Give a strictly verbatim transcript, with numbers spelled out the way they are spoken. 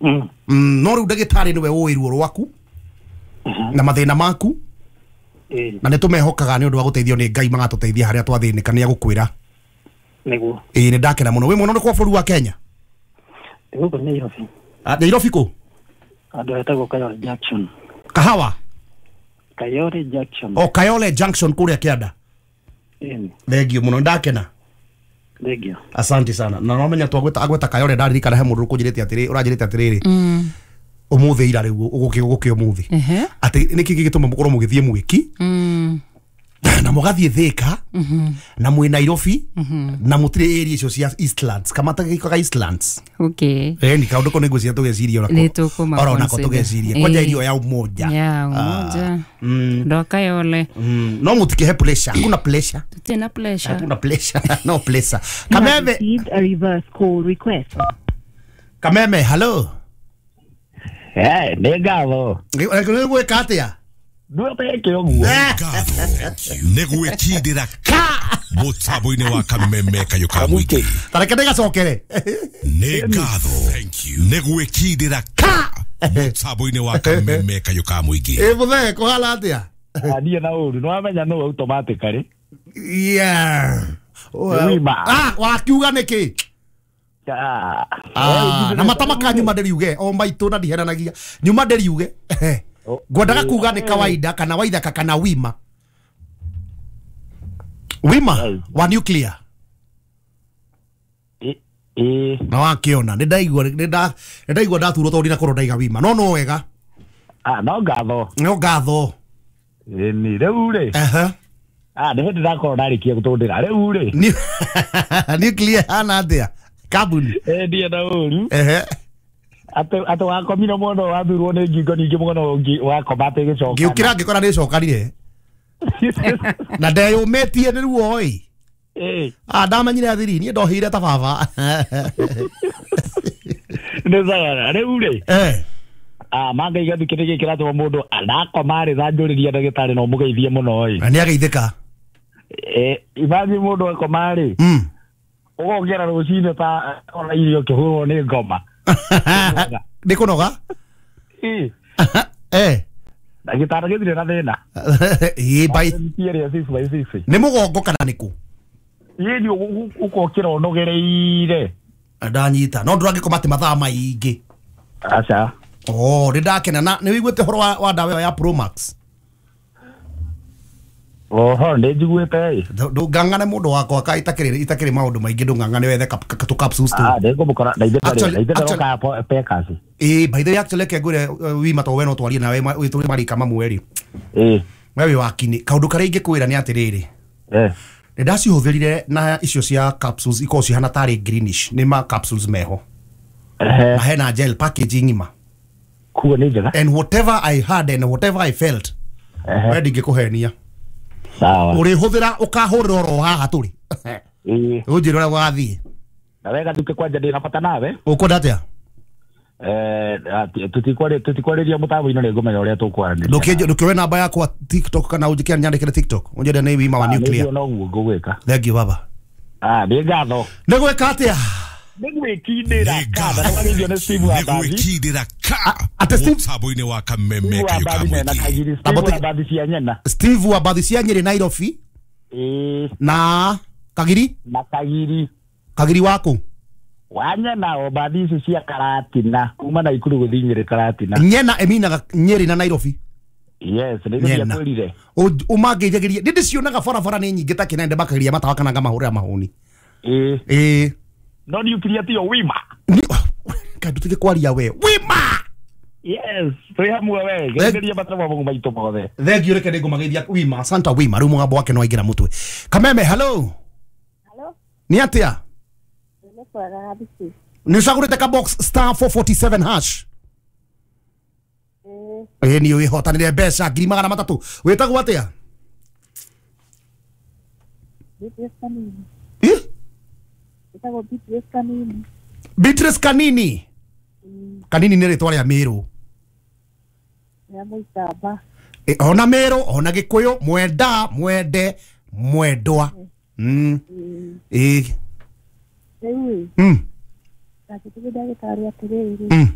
Mm. Mm, no rĩu ndagĩtarĩ nĩwe ũĩ ruo rwaku na mathĩna maku Ĩĩ. na nĩ tũmehokaga nĩ ũndũ wa gũteithio nĩ Ngai magatũteithia harĩa twathĩnĩka nĩ agũkwĩra. Nĩguo. Ĩĩ nĩ ndakena mũno. Wĩ mwena ũrĩkũ wa bũrũri wa Kenya? Gũkũ Nairobi. Ah, Nairobi kũ? Andũ etagwo Kayole Junction. Kahawa? Kayole Junction. O Kayole Junction kũrĩa kĩanda. Ĩĩ. Thengio mũno ndakena. Thengio. Asante sana. Na no menya twagweta agweta Kayole ndaririkana he mũndũ ũkũnjĩrĩte atĩrĩ ũranjĩrĩte atĩrĩrĩ. Mm. Ũmũthĩ ira rĩu ũgũkĩ ũgũkĩ ũmũthĩ. Ehe. Atĩ nĩkĩ gĩgĩtũma mũkorwo mũgĩthiĩ mwĩki Mm. na mũgathiĩ Thika na mwĩ Nairobi na mũtirĩ area icio cia Eastlands kamata gĩkaga Eastlands. Okay. Eh ni kaundu ko nĩngwĩciria tũgeciria onako. Nĩ tũkũma Oro nako consider. tũgeciria. Kwanja Ĩĩ. irio ya Umoja. Ya Umoja. Mm. Ndo Kayole. Mm. No mũtikĩhe pressure. Hakuna pressure. Tutirĩ na pressure. Hakuna pressure. No pressure. You have Kameme. received a reverse call request. Kameme, hello. Eh, nĩ ngatho. Nĩ gwĩka atĩa? Ndwĩte ũguo. Nĩ gwĩkindĩra ka mũtambo-inĩ wa Kameme kayũ ka mũingĩ. Tareke ndĩgacokere. Nĩ ngatho. Nĩ gwĩkindĩra ka mũtambo-inĩ wa Kameme kayũ ka mũingĩ. Ĩ mũthee kũhana atĩa? Niĩ na ũru nĩ wamenya nũ automatically. Yeah. Wima. Ah, wakiuga nĩkĩ? Ah. Ah, na matamaka nyuma ndĩriuge o maitũ na ndiheranagia nyuma ndĩriuge ngwendaga kuga nĩ kawaida kana waithaka kana wima wima wa nuclear Ĩ na wakiona nĩ ndaigua nĩ nda nĩ ndaigua ndaturwo tondũ ndinakorwo ndaiga wima no no wega. Ah, no ngatho. No ngatho. Ĩni rĩu rĩ. Aha. Ah, nĩ hĩndĩ ndakorwo ndarĩkia gũtũndĩra rĩu rĩ. Nuclear hana atĩa? Kambuni. Eh ndiĩ na ũru. Ehe. Atĩ atĩ wakomire mũno wathurwo nĩ ngingo ningĩ mũno ũngĩ wakoma atĩ gĩcoka. Ngĩũkĩra ngĩkora nĩ cokanire. Na ndeyũmĩtie nĩ ruo ĩ. Ĩ. Ah, ndamenyire athiri niĩ ndohire ta baba. Nĩ sawa rĩu rĩ. Eh. Ah, mangaiga thikĩ gĩkĩ kĩratũma mũndũ ndakoma rĩ thanjũrĩria ndagĩtarĩ no mũgeithie mũno ĩ. Na nĩ ageithĩka. Eh, imagine mũndũ akoma rĩ. Mm. Ũgokĩra rũcinĩ ta ona irio kĩhũrwo nĩ ngoma. Nĩ kũnoga? Ĩ. Eh. Ndagĩtarĩ gĩthire na thĩna. Ĩ bai. Nĩ mũgongo kana nĩ kũ? Ĩ nĩ ũkokĩra ũnogereire. Ndanyita. No ndũrangĩkoma atĩ mathaa maingĩ. Aca. Oh, nĩ ndakena na nĩ wĩiguĩte ũhoro wa wa ndawa ĩyo ya Promax? Oho, nĩ njiguĩte ĩ. Ndũng'ang'ane mũndũ wakwa ka itakĩrĩ itakĩrĩ maũndũ maingĩ ndũng'ang'ane wethe tũ capsules tũ. Ah, ndĩkũmũkora na ithe na ithe ndoka Pekas. Ĩ, by the way actually reke ngwĩre wima to we no twarie nawe wĩ tũrĩ marika mamwe rĩ. Ĩ. We wĩ wakini kaũndũ karĩa ingĩkwĩra nĩ atĩrĩrĩ. Eh. Nĩ ndacihũthĩrire na icio cia capsules ikoragwo cihana tarĩ greenish nĩ ma capsules meho. Eh. Na hena gel packaging ng'ima. Kuo nĩ njega. And whatever I had and whatever I felt. Eh. We ndingĩkũhenia. Sawa. Ũrĩhũthĩra ũkahũrĩra oro haha tũrĩ. Ĩ. Ũnjĩre ũrĩa gũgathiĩ. Na wega tuke kwanja ndĩna bata nawe. Ũkwenda atĩa? Eh, tutikwari tutikwarĩria mũtambo-inĩ nĩ ngũmenya ũrĩa tũkwaranĩria. Ndũkĩnjĩ ndũkĩoe namba yakwa TikTok kana ũnjĩke nyandĩkĩre TikTok. Ũnjĩre nĩ wima wa nuclear. Nĩguo noguo ngũgwĩka. Thank you baba. Ah, nĩ ngatho. Nĩ gwĩka atĩa? Nĩ gwĩkindĩra ka na nĩwagĩithio nĩ Steve wa Mbathi. Nĩ gwĩkindĩra ka Ate Steve mũtambo-inĩ wa Kameme kayũ ka mũingĩ. Steve wa Mbathi cia Nyena. Steve wa Mbathi cia Nyĩrĩ Nairobi. Ĩ. Na Kagiri? Na Kagiri. Kagiri waku? Wa Nyena o Mbathi ici cia Karatina kuma Naikuru gũthiĩ Nyĩrĩ Karatina. Nyena ĩminaga Nyĩrĩ na Nairobi. Yes, nĩguo ndiakwĩrire. Ũmangĩithagĩria nĩ ndĩcionaga barabara nĩ nyingĩ ta kĩnende makageria matawa kana ngamahũrĩra mahũni. Ĩ. Ĩ. No nuclear tiyo wima. Kaĩ ndũtige kwaria we. Wima! Yes, twĩ hamwe we. Geithĩria matemo maitũ mothe. Thank reke nĩngũmageithia wima. Santa wima rĩu mũgambo wake no waingĩra mũtwe. Kameme, hello. Hello. Nĩ atĩa? Nĩ kwega kabisa. Nĩ ũcagũrĩte ka box star four forty-seven hash. Ĩ nĩ wĩhotanĩre mbeca ngiri magana matatũ. Wĩtagwo atĩa? Beatrice Kanini. Ĩ? Wĩtagwo Beatrice Kanini. Beatrice Kanini. Kanini nĩ rĩtwa rĩa Mĩrũ. Rĩa Mũikamba. E, ona Mĩrũ, ona Gĩkũyũ, mwenda, mwende, mwendwa. Mm. Ĩ. Rĩu ĩ. Mm. Ndakĩtige ndagĩtarĩ atĩrĩrĩ. Mm.